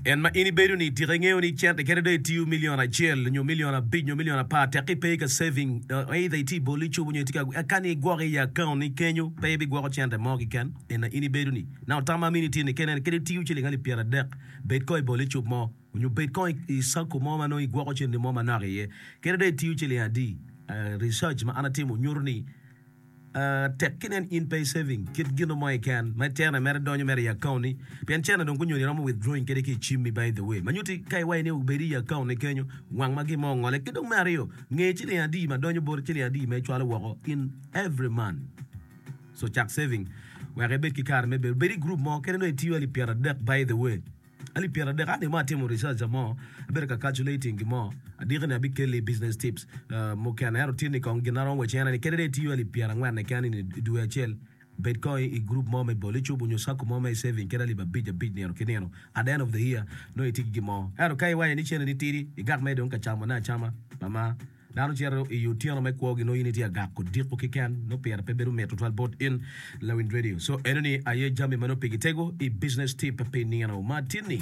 En ma in ibedo ni tika ingeyo ni cente kadi dong itiyo milion acel nyo milion abic nyo milion apar tekki ipe ka saving either itye i bol icubo nyo itye ka ka ni igwoko i account ni kenyo pe ibigwoko cente mo keken en ma in ibedo ni now tam ma amini tye ni kene kadi itiyo ciling alip 30 bed kong i bol icub mo nyo bed kong i sacco mo ma nongo igwoko cente mo manok iye kadi dong itiyo ciling adi research ma an atimo nyuto ni Tek ki nen in pe i saving kit gino mo keken ma cene mere donyo mere i account ni pien cene dong gunyoni iromo withdrawing kede ki i cimmi by the way ma nyuti ka iwaci ni obed i account ni kenyo wang ma gin mo ongole ki dong me aryo nge ciling adi ma donyo boti ciling adi ma icwalo woko in every month so cak saving wek ibed ki kare me bedo bed i group mo kede nongo itiyo alip 30 by the way. Alip 30 an mo atimo research mo abedo ka calculating gin mo adiki ni abikelli business tips mukene ento tye ni kong gin aromo waci en aye ni kadi dong itiyo alip 40 keken i dwe acel bed kong i group mo me bol icubo nyo sacco mo me saving kadi alip abic abic nino ki nino at the end of the year nongo itye ki gin mo ento ka iwaco ni cene ni tidi igak mere dong ka camone acama mama Dano cito i otyeno me kwogi nongo in itye agak odiko keken nongo pire pe bedo mit tutwal bot in lawiny radio. So enoni aye jami ma nongo pigi tego i business tip pi nino ma tin-ni.